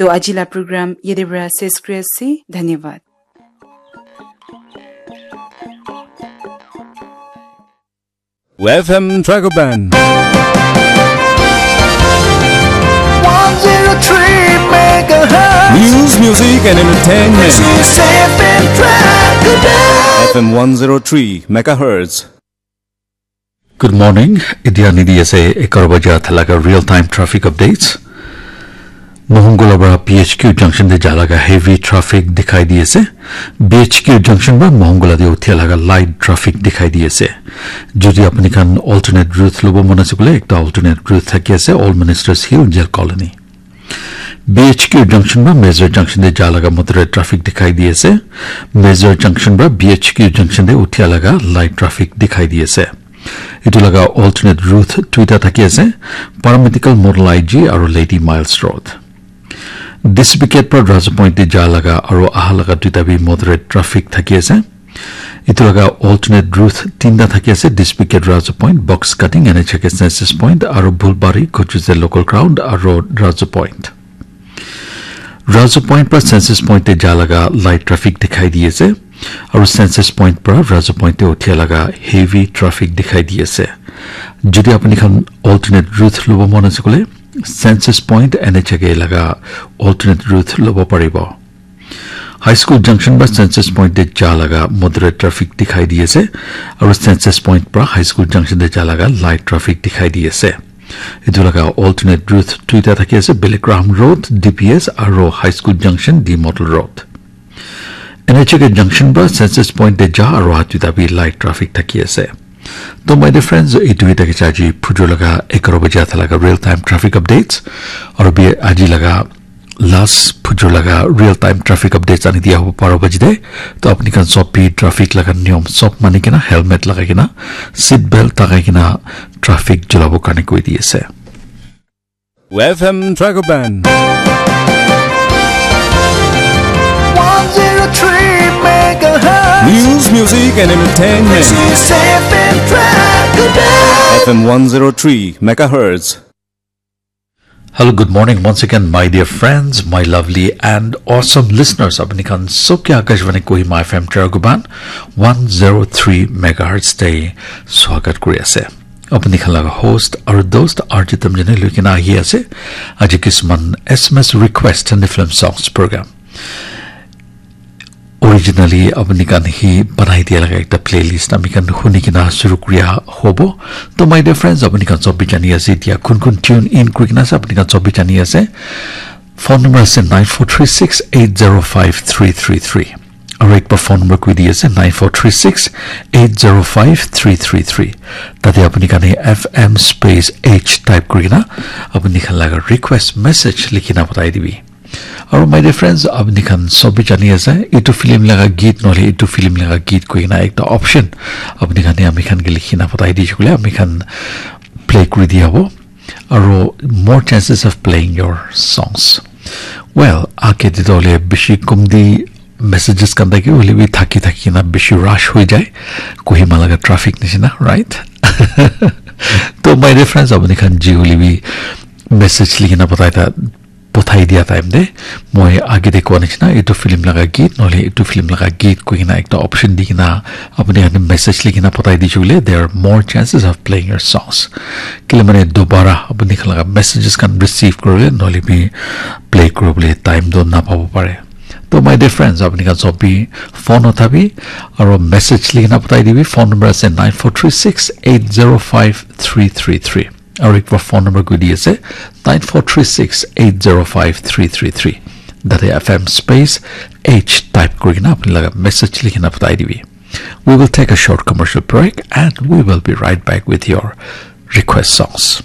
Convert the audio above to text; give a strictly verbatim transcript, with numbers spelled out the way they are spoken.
To aji la program yate para ses kuri ase. Dhanyavad. F M Dragoban. One zero three megahertz. News, music, and entertainment. This is F M Dragoban. F M one zero three megahertz. Good morning. Idia nidi ase ekar baja thalaga real time traffic updates. Mohongula bara P H Q junction te jalaga heavy traffic dikhai di ase. P H Q junction ba Mohongula te uthia laga light traffic dikhai di ase. Jodi apni khan alternate route lobo mon ase kule ekta alternate route thaki ase, Old Ministers Hill, Jail Colony. P H Q junction ba Major junction te jalaga moderate traffic dikhai di ase. Major junction ba P H Q junction te uthia laga light traffic dikhai di ase. Itu laga alternate route duita thaki ase, Paramedical Model I G aru Lady Miles Road. District Gate pra Raja Point te ja laga aru aha laga duita bi moderate traffic thaki ase. Itu laga alternate route tinta thaki ase, District Gate, Raja Point, Box Cutting, N H K Census Point, aru Bulbari, Kochuze Local Ground, aru Raja Point. Raja Point pra Census Point te ja laga light traffic dikhai di ase. Aru Census Point pra Raja Point te uthia laga heavy traffic dikhai di ase. Jodi apni khan alternate route lobo mon ase kule, Census Point N H K laga alternate route lobo paribo. High School Junction pra Census Point te ja laga moderate traffic dikhai di ase. Aru Census Point pra High School Junction te ja laga light traffic dikhai di ase. Itu laga alternate route duita thaki ase, Billy Graham Road, D P S, aru High School Junction, D Model Road. N H K Junction pra Census Point te ja aru aha duita bi light traffic thaki ase. To my dear friends, itu hi thaki ase aji phujur laga egharo baja thalaga real time traffic updates. Aru bi aji laga last phujur laga real time traffic updates ani dia hobo baro baji te. To apni khan sob bi traffic laga niyom sob mani kena, helmet lagai kena, seat belt lagai kena traffic chulabo karne koi di ase. F M Dragoban. One zero three megahertz. News, music, and entertainment. This is F M Dragoban. F M one zero three megahertz. Hello, good morning once again, my dear friends, my lovely and awesome listeners. Apni khan sob ke Akashvani Kohima F M Dragoban one zero three megahertz te swagat kuri ase. Apni khan laga host aru dost R J Tamjane loi kena ahi ase. Aji kisman S M S request and film songs program. Originally, apni khan hi banai dia laga ekta playlist ami khan huni kena shuru kuriya hobo. To my dear friends, apni khan sob bi jani ase, etia kun kun tune in kuri kena ase, apni khan sob bi jani ase. Phone number ase nine four three six eight zero five three three three. Aru ekbar phone number koi di ase nine four three six eight zero five three three three. Tate apni khan hi F M space H type kuri kena apni khan laga request message likhi na patai dibi. Aru my dear friends, apni khan sob bi jani ase, itu film laga geet nohole itu film laga geet koi kena ekta option apni khan he ami khan ke likhi na patai di shukule, ami khan play kuri di hobo. Aru more chances of playing your songs. Well, ake te to hole bishi kum di messages khan thaki hole bi thaki thaki na bishi rush hoi jai. Kohima laga traffic nishina, right? To my dear friends, apni khan ji hole bi message likhi na patai ta pothai dia time te moi age te koa nishina etu film laga geet nohole etu film laga geet koi kena ekta option di kena apni khan message likhi kena pothai dise koile, there are more chances of playing your songs. Kile mane dobara apni khan laga messages khan receive kuribole nohole bi play kuribole time toh napabo pare. To my dear friends, apni khan sob bi phone uthabi aro message likhi kena pothai dibi. Phone number ase nine four three six eight zero five three three three. Aru ekbar phone number koi di ase nine four three six eight zero five three three three. Tate F M space H type kuri kena apni laga message likhi kena pothai dibi. We will take a short commercial break and we will be right back with your request songs.